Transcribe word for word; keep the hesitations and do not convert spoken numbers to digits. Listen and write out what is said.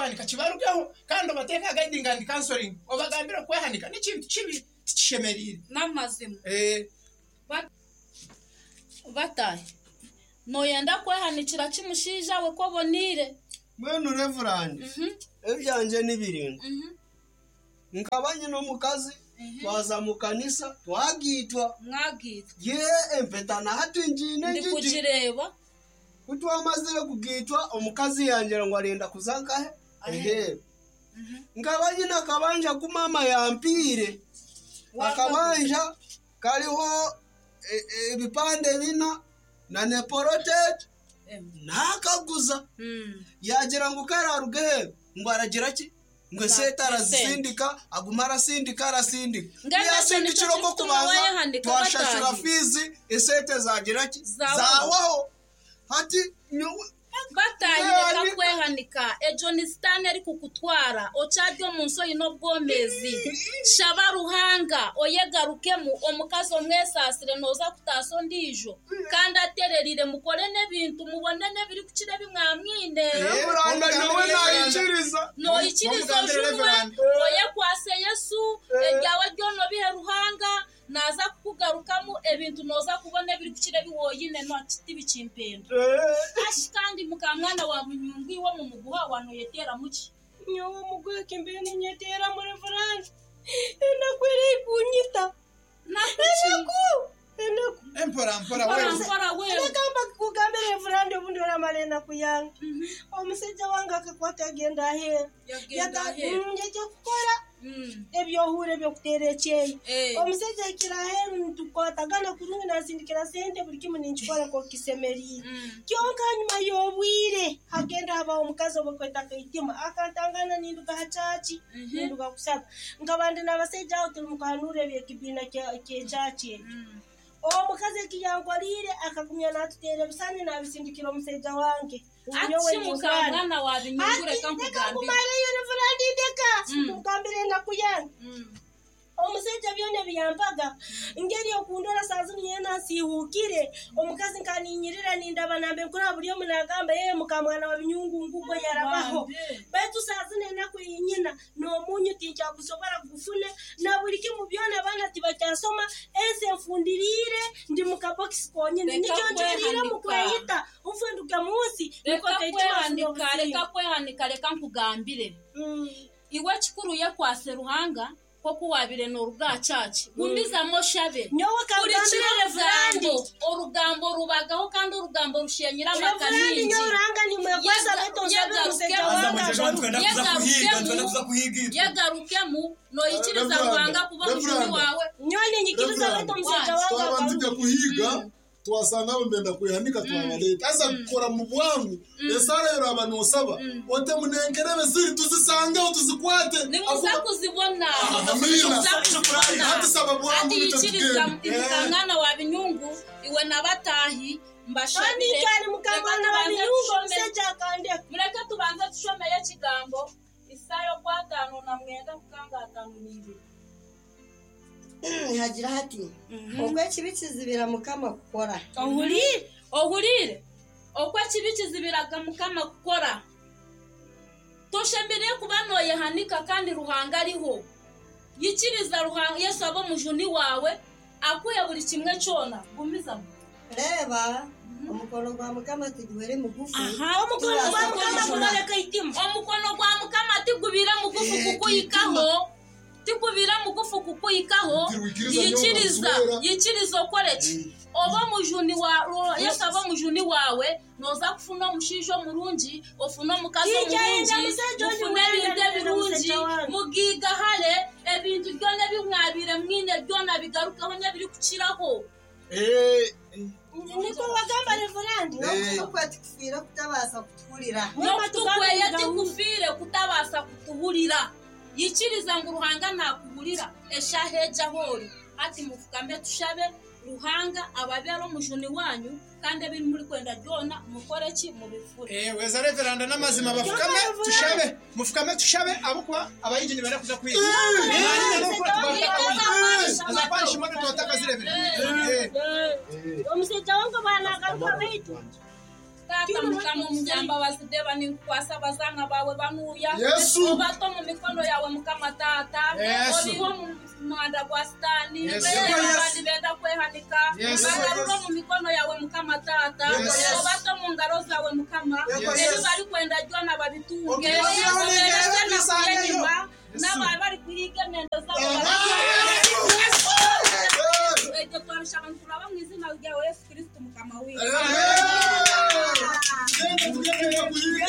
kwehanika kibarugeho kandi obateeke aha guiding and counseling obagambire okwehanika n'ekintu kibi tikishemereire. N'amazima. Eh. Batahi, nooyenda kwehanikira ki mushaija we ku oboneire? Mbwenu Reverand, ebyangye ni biraingwa. Nkaba nyine omukazi, twaza mu kanisa, twagaitwa. Mwagaitwa. Ye empeta na hati ngiine ngigi. Ndikugireeba. Ku twamazire kugaitwa, omukazi yangira ngu arenda kuza nkahe? Aheeru. Nkaba nyine akabanja ku maama yampiire. Akabanja kariho e- e- ebipande bina na neporoteeti naakaguza. Yaagira ngu kararuga aheeru ngu aragira ki? Ngu esente arazisindika, aguma arasindika arasindika. Mbwenu ekyo Yasindikira nikyo okwo kirikutuma kubanza wayehanika twashashura bataahi. fiizi esente zagira ki? Zawaho. Zawaho. Hati nyowe Bataahi reka Yehanika. kwehanika, egyo ni sitaane erikukutwara, okyari omu nsi oine obwomeezi. Shaba Ruhanga oyegarukemu, omukazi omwesaasire nooza kutaasa ondiijo kandi atererire mukore n'ebintu mubone n'ebirikukira ebi mwamwine. Reveranda nyowe naikiriza. Noikiriza Omugambire ojunwe, Reverand. oyekwase Yesu, ebyawe byona obihe Ruhanga, naaza kukugarukamu ebintu nooza kubona ebirikukira ebi woine tibikimpenda. Ashi kandi mukamwana wa Bunyungu iwe omu muguha wanoyeteeramu ki? Nyowe omuguha kimbeire ninyeteeramu Reverand. Enaku erikunyita. Naku ki? Enaku! Enaku. Empora mpora Mpora wewe. mpora wewe. Reka mbakugambire Reverand obundi oramara enaku yange. Omushaija wange akakwata agenda aheeru. Yagenda aheeru. Mm, Yajya kukora Mm. ebyohuura ebyokuteera ekyeyo. Eh. Omushaija ahikire aheeru nitukwatagana kurungi nansindikira sente buri kimwe ninkikora nk'oku kisemeriire. Mm. Kyonka hanyuma y'obwire hagenda habaho omukazi obakweta Kaitima akantangana ninduga ha church Mhm. ninduga kusaba. Nkaba ndi n'abasaija aho turi mukuhanuura eby'ekibiina kya- ky'ekyaki ekyo. Mm. Omukazi eki yankoriire akagumya naatuteera ebisani naabisindikira omushaija wange. Ati Nyowe mukamwana wa Binyungu Ati reka ndeka nkugambire. nkumareyo Reverand ndeka Mm. nkugambire enaku yange. Mm. Omushaija byona ebiyampaga ngeri okundora saa zinu nyena nsiihuukire omukazi nkaninyirira nindaba nambe nkuraba buri omu nagamba yeye mukamwana wa Binyungu ngugo yarabaho. Bambe. Baitu saa zinu enaku yinyina n'omunyu tinkyagusobora kugufuna na buri kimu byona abaana tibakyasoma ensi enfundiriire ndi mu kabokisi konyine Reka nikyo njweriire mu kwehanika. kweyita nfe nduge mu nsi niko Reka Kaitima afune kwehanika, obusinge. reka kwehanika, reka nkugambire. Mm. Iwe kikuru yekwase Ruhanga nk'oku waabire nooruga aha church. Gumizamu oshabe. Nyowe Kurikira kangambire Reverand. orugambo, orugambo rubagaho kandi orugambo rushenyera amaka Reverand mingi. nyowe Ruhanga nimwekwasa baitu nsabire omushaija Aza wange mwejeje agaruke. twenda kuza kuhiga, twenda kuza kuhiga itwe. Yegarukemu noikiriza Reveranda, Ruhanga kuba omujuni Reveranda. wawe. Nyowe ninyikiriza Reverand, baitu omushaija wange twaba agaruke. ntujya kuhiga twasanga abo mbenda kwehanika twabaleta aza kukora mu bwangu esara yoraba nosaba ote munenkerebe ziri tuzisangeho tuzikwate Nimuza kuzibona. Amina. Nimuza kuzibona. Hati saba bwangu Hati yikiriza nitwe mukamwana wa Binyungu iwe n'abatahi mbashabire. Kandi nkyari mukamwana wa Reka tubanze Binyungu tushome. omushaija akandeka. Mureke tubanze tushomeye ekigambo Isaaya okwataano na mwenda kukanga ataano n'ibiri. Hagira hati okwo ekibi kizibira Mukama kukora. Ohuriire, ohuriire. Okwo ekibi kizibiraga Mukama kukora. Toshemereire kuba nooyehanika kandi Ruhanga ariho. Yikiriza Ruhanga Yesu abe omujuni waawe, akuhe buri kimwe kyona. Gumizamu. Reeba omukono gwa Mukama tiguhwere mugufu. Aha, Omukono gwa Mukama Turaza gurareka eitima. Omukono gwa Mukama tigubire mugufu Eh, kukuhikaho. Tigubire mugufu kukuhikaho. Tirwikiriza nyowe Yikiriza, nkakuswera. yikiriza okore ki? Oba omujuni wa Ro- Yesu abe omujuni waawe, nooza kufuna omushaija omurungi, ofune omukazi Tinkyayenda omurungi, mushaija ondi mufune wenda ebintu nenda ebirungi, mushaija wange. mugigahare, ebintu byona ebi mwabire mwine byona bigarukeho n'ebirikukiraho. Eh, Niko wagamba Reverand. N'okutu kwe tikufiire kutabaasa kutuhurira. N'okutu kweye tikufiire kutabaasa kutuhurira. Yikiriza ngu Ruhanga nakuhurira eshaaha egi ahu ori. Hati mufukame tushabe Ruhanga ababere omujuni wanyu kandi ebi murikwenda byona mukore ki mubifure. Eh, weza Reveranda n'amazima bafukame tushabe. Mufukame tushabe abakuba abayigi nibenda kuza kwiga. Aza kwanisha imodoka twataka zirebere. Eh. Omushaija wange banagaruka baitu. Tata mukama omunyambabazi deba ninkukwasa abazaana baawe banuuya Yesu. obata omu mikono yawe mukama tata Yesu. obiha omu muhanda gwa sitaani Yesu. abandi benda kwehanika Yesu. bagarura omu mikono yawe mukama tata Yesu. obata omu ngaro zawe mukama Yesu. ebi barikwenda byona babitunge Okubaziraho n'engerebe Obereze tubisangeyo. enyima n'abari bari kuhiga emyenda zabo ekyo twabishaba nturaba mu izina ryawe Yesu Kristo mukama witu. Genda tugende kuhiga.